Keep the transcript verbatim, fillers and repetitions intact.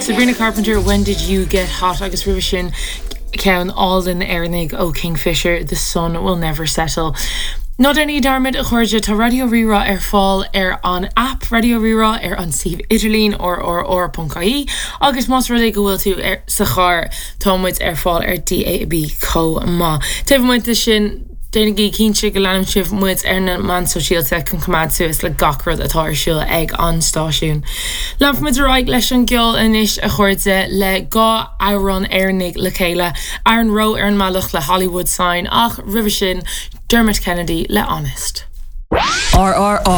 Sabrina Carpenter, when did you get hot agus roimhe sin ceann álainn Éireannach ó Kingfisher, The Sun Will Never Settle. Ná déanaigí dearmad a chairde tá Raidió Rí-Rá ar fáil ar an app Raidió Rí-Rá ar an suíomh idirlín rrr.ie agus más rud é go bhfuil tú ar sa charr tá muid ar fáil ar DAB chomh maith. Taobh amuigh de sin déanaigí cinnte go leanann sibh muid ar na meáin sóisialta chun coimeád suas le gach rud atá ar siúl ag an stáisiún. Leanfaimid ar aghaidh leis an gceol anois a chairde le dhá amhrán Éireannaigh le chéile Aaron Rowe ar an mbealach le Hollywood Sign ach roimhe sin Dermot Kennedy le Honest. RRR.ie